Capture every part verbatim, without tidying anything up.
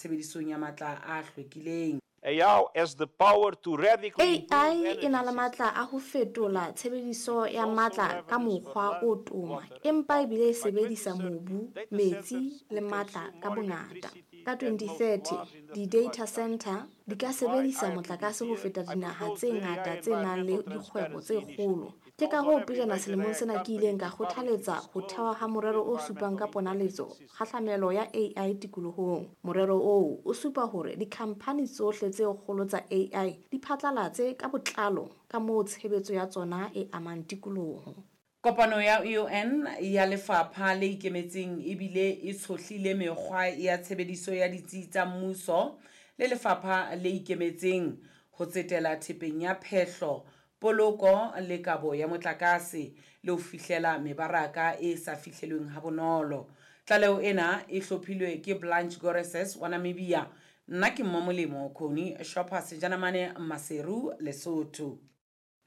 Tshebedisong ya matla a hlwekileng. A I has the power to radically A I improve e na le energy matla a ho fetola tshebediso systems. Ya matla ka mokgwa o toma, empa ebile e sebedisa mobu, metsi le matla ka bongata. Ka twenty thirty, di-data center di ka sebedisa motlakase ho feta dinaha tse ngata tse nang le dikgwebo tse kgolo. Ke ka hoo pejana selemong sena ke ileng ka kgothaletsa ho thehwa ha morero o supang ka ponaletso kgahlamelo ya A I tikolohong. Morero oo o supa hore dikhamphani tsohle tse kgolo tsa A I di phatlalatse ka botlalo ka moo tshebetso ya tsona e amang tikoloho. Kopano ya U N ya Lefapha le Ikemetseng ebile e tshohlile mekgwa ya tshebediso ya ditsi tsa mmuso le lefapha le ikemetseng ho tsetela thepeng ya phehlo, poloko le kabo ya motlakase le ho fihlela mebaraka e sa fihlelweng ha bonolo. Tlaleho ena e hlophilwe ke Blanche Goreses wa Namibia. Nna ke Mmamolemo Connie Shopper Sejanamane Maseru, Lesotho.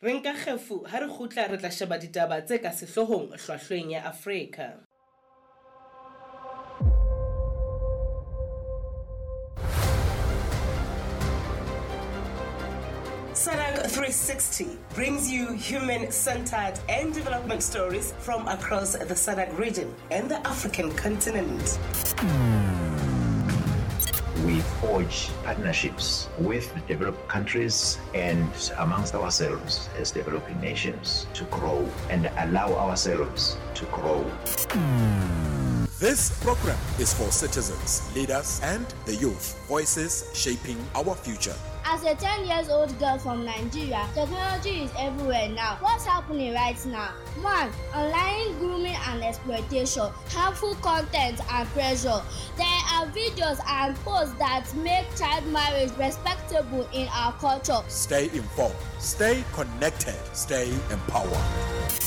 Re nka kgefu, ha re kgutla re tla sheba ditaba tse ka sehloohong hlwahlweng ya Afrika. S A D C three sixty brings you human centered and development stories from across the S A D C region and the African continent. We forge partnerships with developed countries and amongst ourselves as developing nations to grow and allow ourselves to grow. This program is for citizens, leaders, and the youth, voices shaping our future. As a ten years old girl from Nigeria, technology is everywhere now. What's happening right now? one. Online grooming and exploitation, harmful content and pressure. There are videos and posts that make child marriage respectable in our culture. Stay informed, stay connected, stay empowered.